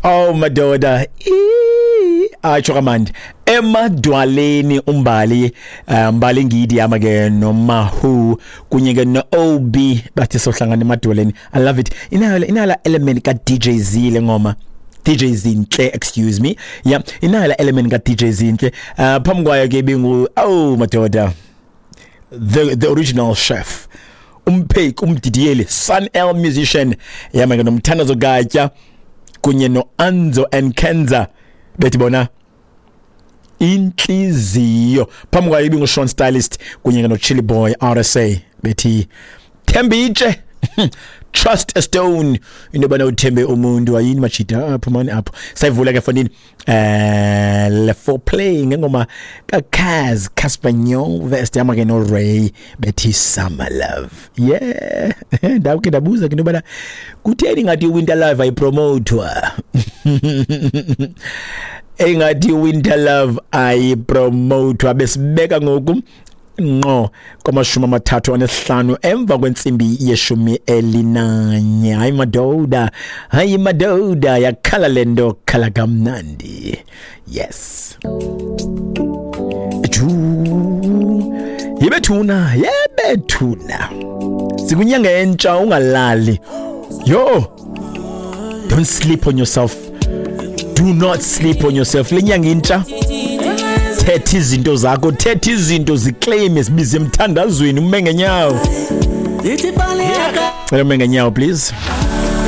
Oh madoda, atsho kamandi emadwaleni umbali, mbali ngidi yama ke nomahu kunye ke no-OB bathi sohlangana emadwaleni. I love it. Inayo la element ka DJ Z le ngoma. DJ Zinhle, excuse me. Yeah, inayo la element ka DJ Zinhle. Phambi kwayo ke bingu, oh madoda, the original chef, umpheki, umdidiyeli, Sun El musician yama ke nomthandazo Gatya kunye no-Anzo and Kenza bethi bona inhliziyo. Phambi kwayo ibingu-Sean Stylist kunye no-Chili Boy RSA bethi Thembitshe, trust a stone, into yobana uthembe umuntu ayini majida apho mani apho. Sayivula ke fondini le foreplay ngengoma kaKaz Casper Nyovest yama ke no Ray bethi Summer Love. Yeah, ndawuke ndabuza ke into yobana kutheni ngathi Winter Love ayipromotwa, engathi Winter Love ayipromotwa. Besibeka ngoku ngqo kwama-35 emva kwentsimbi ye-11. Hayi madoda, hayi madoda, yakhala lento, khala kamnandi. Yes, ju yebethuna, yebethuna, sikunyanga entsha, ungalali yo. Don't sleep on yourself, do not sleep on yourself. Lenyanga intsha, thetha izinto zakho, thetha izinto, ziclaim, sibize emthandazweni. Ume ngenyawo, cela ume ngenyawo please.